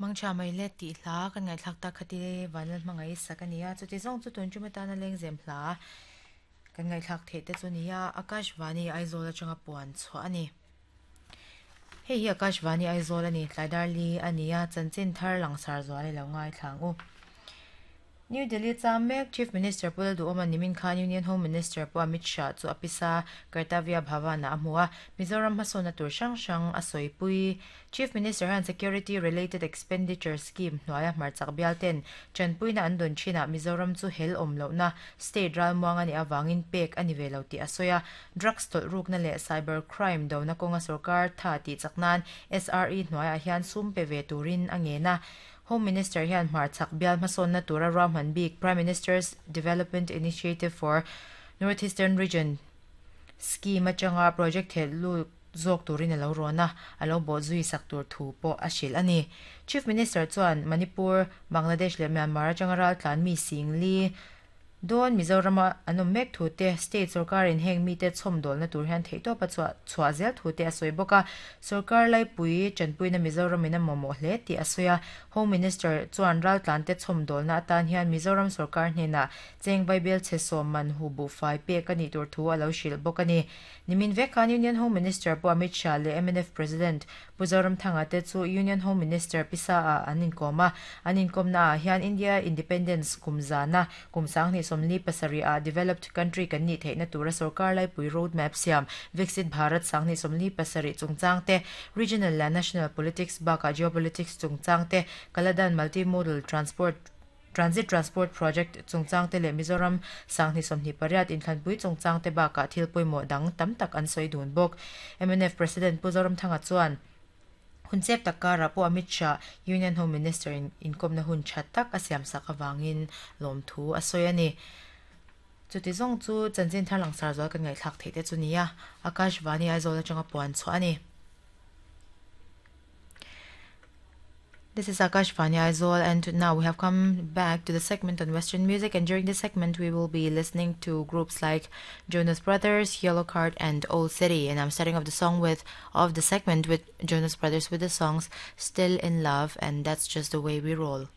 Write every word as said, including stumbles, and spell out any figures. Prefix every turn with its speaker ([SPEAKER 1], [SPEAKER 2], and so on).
[SPEAKER 1] Mangtha mai le tih hla kan ngaihthlak tak kha ti vanlal hmangaih sak a ni a, chuti zawng chu tun tum atana lengzem hla kan ngaihthlak theih te chu ni a, Akashvani Aizawl atanga puan chhuah a ni. Hei hi Akashvani Aizawl a ni, tlaidar li a ni a, chanchin thar langsar zual i lo ngai thlang u. New Delhi cham mek Chief Minister Pu Lalduhoma nimin khan Union Home Minister Pu Amit Shah chu a pisa Kartavya Bhavan ah a hmu a, Mizoram hmasawnna tur hrang hrang a sawipui. Chief Minister hian Security Related Expenditure Scheme hnuaia hmarchak bial ten chanpuina an dawn thinah Mizoram chu hel awm lohna state ralmuang a nih avangin pek a ni ve lo tih a sawi a, drugs tawlh rukna leh cyber crime dona kawnga sorkar tha tih chak nan S R E hnuaiah hian sum pe ve turin a ngen a. Home Minister hian hmarchak bial hmasawnna tura ruahman bik Prime Minister's Development Initiative for North Eastern Region scheme atanga project theh lut zawk turin a lo rawn a, a lo bawh zui sak tur thu pawh a hrilh a ni. Chief Minister chuan Manipur, Bangladesh leh Myanmar atanga raltlan mi sing li dawn Mizoram an awm mek thu te, state sorkarin heng mi te chhawm dawlna tur hian theihtawp a chhuah chhuah zel thu te a sawi bawk a, sorkar laipui chanpuina Mizoram in a mamawh hle tih a sawi a. Home Minister chuan raltlan te chhawm dawlna atan hian Mizoram sorkar hnenah cheng vaibel chhe sawm man hu buhfai pek a nih tur thu a lo hrilh bawk a ni. Nimin vek khan Union Home Minister Pu Amit Shah leh M N F President Pu Zoramthanga te chu Union Home Minister pisa ah an inkawm a, an inkawmna ah hian India Independence kum zana kum sanghnih sawmli pasarih ah developed country kan nih theihna tura sorkar laipui road map siam Viksit Bharat sanghnih sawmli pasarih chungchang te, regional leh national politics bakah geopolitics chungchang te, Kaladan multimodal transport Transit Transport Project chungchang te leh Mizoram sanghnih sawmhnih pariat inthlanpui chungchang te bakah thil pawimawh dang tam tak an sawi dun bawk. M N F President Pu Zoramthanga chuan hunchep tak karah Pu Amit Shah Union Home Minister in inkawmna hun tha tak a siam sak avangin lawm thu a sawi a ni. Chuti zawng chu chanchin thar langsar zual kan ngaihthlak theih te chu ni a, Akashvani Aizawl atanga puan chhuah a ni. This is Akashvani Aizawl, and now we have come back to the segment on Western music, and during this segment we will be listening to groups like Jonas Brothers, Yellowcard and Owl City, and I'm starting off the song with of the segment with Jonas Brothers with the songs Still in Love and That's Just the Way We Roll.